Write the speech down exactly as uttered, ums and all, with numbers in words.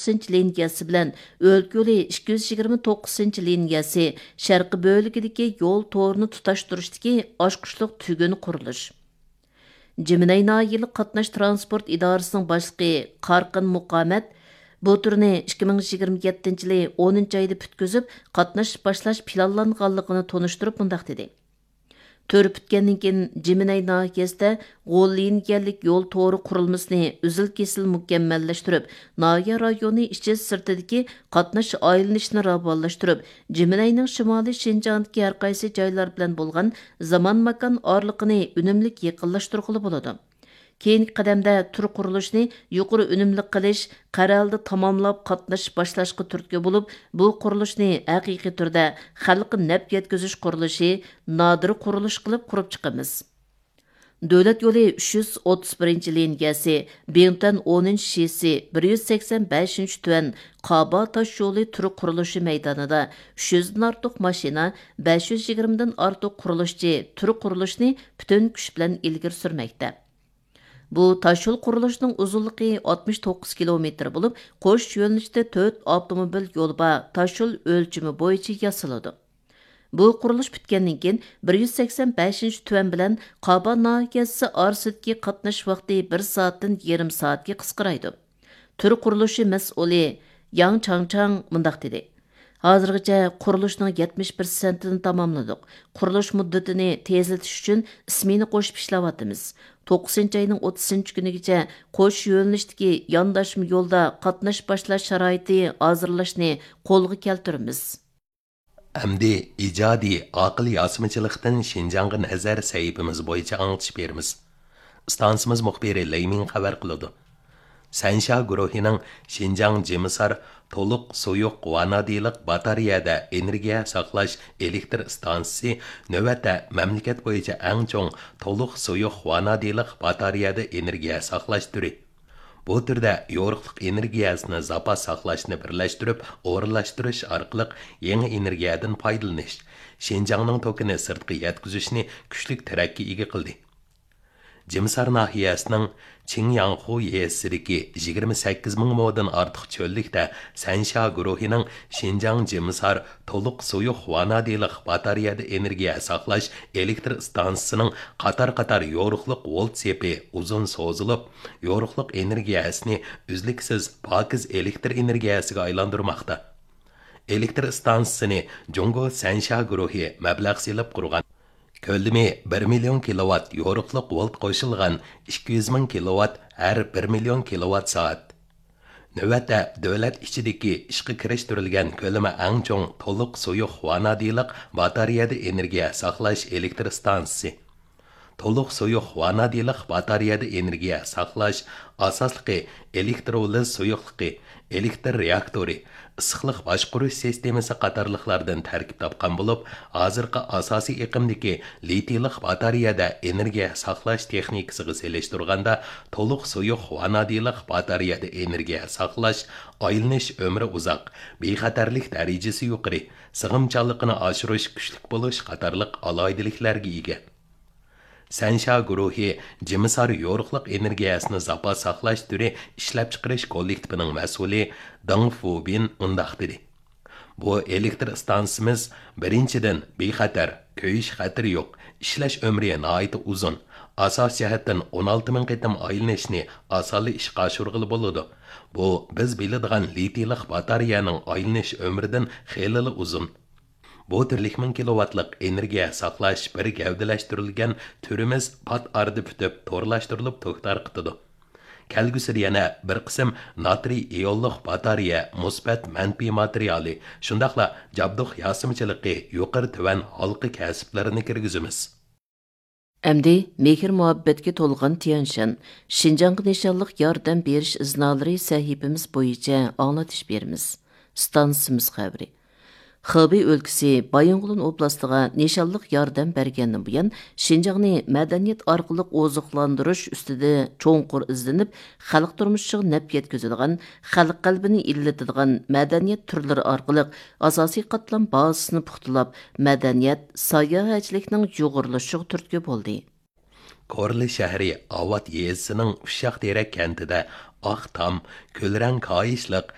توققۇزىنچى لىنىيەسى بىلەن ئۆلكە يولى ئىككى يۈز يىگىرمە توققۇزىنچى لىنىيەسى شەرقىي بۆلىكىدىكى يول تورىنى تۇتاشتۇرۇشتىكى ئاچقۇچلۇق تۈگۈن قۇرۇلۇش. جىمىنەي ناھىيەلىك قاتناش تىرانسپورت ئىدارىسىنىڭ باشلىقى قارقىن مۇقامەت بۇ تۈرنى ئىككى مىڭ يىگىرمە يەتتىنچى يىلى ئونىنچى ئايدا پۈتكۈزۈپ، قاتناش باشلاش پىلانلانغانلىقىنى تونۇشتۇرۇپ مۇنداق دېدى: تۈر پۈتكەندىن كېيىن، جىمىنەي ناھىيەسىدە غوللىنگەنلىك يول تورى قۇرۇلمىسىنى ئۈزۈل-كېسىل مۇكەممەللەشتۈرۈپ، ناھىيە رايونى ئىچى سىرتىدىكى قاتناش ئايلىنىشىنى راۋانلاشتۇرۇپ، جىمىنەينىڭ شىمالىي شىنجاڭدىكى ھەر قايسى جايلار بىلەن بولغان زامان ماكان ئارىلىقىنى ئۈنۈملۈك يېقىنلاشتۇرغىلى بولىدۇ. كېيىنكى قەدەمدە تۈر قۇرۇلۇشنى يۇقىرى ئۈنۈملۈك قىلىش، قەرەلدە تاماملاپ قاتنىشىپ باشلاشقا تۈرتكە بولۇپ، بۇ قۇرۇلۇشنى ھەقىقىي تۈردە خەلققە نەپ يەتكۈزۈش قۇرۇلۇشى، نادىر قۇرۇلۇش قىلىپ قۇرۇپ چىقىمىز. دۆلەت يولى ئۈچ يۈز ئوتتۇز بىرىنچى لىنىيەسى، بىڭتۈەن ئونىنچى شىسى، بىر يۈز سەكسەن بەشىنچى تۈەن قابا تاش يولى تۈر قۇرۇلۇشى مەيدانىدا ئۈچ يۈزدىن ئارتۇق ماشىنا، بەش يۈز يىگىرمىدىن ئارتۇق قۇرۇلۇشچى تۈر قۇرۇلۇشنى پۈتۈن كۈچ بىلەن ئىلگىرى سۈرمەكتە. بۇ تاشيول قۇرۇلۇشىنىڭ ئۇزۇنلۇقى ئاتمىش توققۇز كىلومېتىر بولۇپ، قوش يۆنىلىشتە تۆت ئاپتوموبىل يولى بار تاشيول ئۆلچىمى بويىچە ياسىلىدۇ. بۇ قۇرۇلۇش پۈتكەندىن كېيىن، بىر يۈز سەكسەن بەشىنچى تۈەن بىلەن قابا ناھىيەسى ئارىسىدىكى قاتناش ۋاقتى بىر سائەتتىن يېرىم سائەتكە قىسقىرايدۇ. تۈر قۇرۇلۇشى مەسئۇلى ياڭ چاڭچاڭ مۇنداق دېدى: ھازىرغىچە قۇرۇلۇشنىڭ يەتمىش پىرسەنتىنى تاماملىدۇق. قۇرۇلۇش مۇددىتىنى تېزلىتىش ئۈچۈن ئىسمېنا قوشۇپ ئىشلەۋاتىمىز. توققۇزىنچى ئاينىڭ ئوتتۇزىنچى كۈنىگىچە قوش يۆنىلىشتىكى يانداشما يولدا قاتناش باشلاش شارائىتى ھازىرلاشنى قولغا كەلتۈرىمىز. ئەمدى ئىجادىي ئاقىل ياسىمىچىلىقتىن شىنجاڭغا نەزەر سەھىپىمىز بويىچە ئاڭلىتىش بېرىمىز. ئىستانسىمىز مۇخبىرى لېي مىڭ خەۋەر قىلىدۇ. سەنشيا گۇرۇھىنىڭ شىنجاڭ جىمىسار تولۇق سۇيۇق ۋانادىلىق باتارېيەدە ئېنېرگىيە ساقلاش ئېلېكتر ئىستانسىسى نۆۋەتتە مەملىكەت بويىچە ئەڭ چوڭ تولۇق سۇيۇق ۋانادىلىق باتارېيەدە ئېنېرگىيە ساقلاش تۈرى. بۇ تۈردە يورۇقلۇق ئېنېرگىيەسىنى زاپاس ساقلاشنى بىرلەشتۈرۈپ ئورۇنلاشتۇرۇش ئارقىلىق يېڭى ئېنېرگىيەدىن پايدىلىنىش، شىنجاڭنىڭ توكىنى سىرتقا يەتكۈزۈشنى كۈچلۈك تەرەققىي ئىگە قىلدى. جىمسار ناھىيەسىنىڭ چىڭياڭخۇ يېزىسىدىكى يىگىرمە سەككىز مىڭ مودىن ئارتۇق چۆللۈكتە سەنشيا گۇرۇھىنىڭ شىنجاڭ جىمسار تولۇق سۇيۇق ۋانادىلىق باتارېيەدە ئېنېرگىيە ساقلاش ئېلېكتر ئىستانسىسىنىڭ قاتار-قاتار يورۇقلۇق ۋولت سېپى ئۇزۇن سوزۇلۇپ، يورۇقلۇق ئېنېرگىيەسىنى ئۈزلۈكسىز پاكىز ئېلېكتر ئېنېرگىيەسىگە ئايلاندۇرماقتا. ئېلېكتر ئىستانسىسىنى جۇڭگو سەنشيا گۇرۇھى مەبلەغ سېلىپ قۇرغان. كۆلىمى بىر مىليون كىلوۋات يورۇقلۇق ۋولت قوشۇلغان ئىككى يۈز مىڭ كىلوۋات ھەر بىر مىليون كىلوۋات سائەت. نۆۋەتتە دۆلەت ئىچىدىكى ئىشقا كىرىشتۈرۈلگەن كۆلىمى ئەڭ چوڭ تولۇق سۇيۇق ۋانادىلىق باتارېيەدە ئېنېرگىيە ساقلاش ئېلېكتر ئىستانسىسى. تولۇق سۇيۇق ۋانادىلىق باتارېيەدە ئېنېرگىيە ساقلاش ئاساسلىقى ئېلېكترولىز سۇيۇقلۇقى، ئېلېكتر رېئاكتورى، ئىسسىقلىق باشقۇرۇش سىستېمىسى قاتارلىقلاردىن تەركىب تاپقان بولۇپ، ھازىرقى ئاساسىي ئېقىمدىكى لىتىيلىق باتارېيەدە ئېنېرگىيە ساقلاش تېخنىكىسىغا سېلىشتۇرغاندا، تولۇق سۇيۇق ۋانادىلىق باتارېيەدە ئېنېرگىيە ساقلاش، ئايلىنىش ئۆمرى ئۇزاق، بىخەتەرلىك دەرىجىسى يۇقىرى، سىغىمچانلىقىنى ئاشۇرۇش كۈچلۈك بولۇش قاتارلىق ئالاھىدىلىكلەرگە ئىگە. سەنشيا گۇرۇھى جىمىسار يورۇقلۇق ئېنېرگىيەسىنى زاپاس ساقلاش تۈرى ئىشلەپچىقىرىش كوللېكتىپىنىڭ مەسئۇلى دېڭ فۇبىن مۇنداق دېدى: بۇ ئېلېكتر ئىستانسىسىمىز، بىرىنچىدىن، بىخەتەر، كۆيۈش خەتىرى يوق، ئىشلەش ئۆمرى ناھايىتى ئۇزۇن، ئاساسىي جەھەتتىن ئون ئالتە مىڭ قېتىم ئايلىنىشنى ئاسانلا ئىشقا ئاشۇرغىلى بولىدۇ. بۇ بىز بىلىدىغان لىتىيلىق باتارېيەنىڭ ئايلىنىش ئۆمرىدىن خېلىلا ئۇزۇن. بۇ تۈرلۈك مىڭ كىلوۋاتلىق ئېنېرگىيە ساقلاش بىر گەۋدىلەشتۈرۈلگەن تۈرىمىز پات ئارىدا پۈتۈپ، تورلاشتۇرۇلۇپ توك تارقىتىدۇ. كەلگۈسىدە يەنە بىر قىسىم ناترىي ئىيونلۇق باتارېيە مۇسبەت، مەنپىي ماتېرىيالى، شۇنداقلا جابدۇق ياسىمىچىلىقى يۇقىرى تۆۋەن ھالقا كەسىپلىرىنى كىرگۈزىمىز. ئەمدى مېھىر-مۇھەببەتكە تولغان تيەنشەن، شىنجاڭغا نىشانلىق ياردەم بېرىش ئىزنالىرى سەھىپىمىز بويىچە ئاڭلىتىش بېرىمىز. ئىستانسىمىز خەۋىرى. خېبېي ئۆلكىسى بايىنغولىن ئوبلاستىغا نىشانلىق ياردەم بەرگەندىن بۇيان، شىنجاڭنى مەدەنىيەت ئارقىلىق ئوزۇقلاندۇرۇش ئۈستىدە چوڭقۇر ئىزدىنىپ، خەلق تۇرمۇشىغا نەپ يەتكۈزىدىغان، خەلق قەلبىنى ئىللىتىدىغان مەدەنىيەت تۈرلىرى ئارقىلىق ئاساسىي قاتلام بازىسىنى پۇختىلاپ، مەدەنىيەت، ساياھەتچىلىكنىڭ يۇغۇرۇلۇشىغا تۈرتكە بولدى. كورلا شەھىرى ئاۋات يېزىسىنىڭ ئۇششاق تېرەك كەنتىدە ئاق تام، كۈلرەڭ كاھىشلىق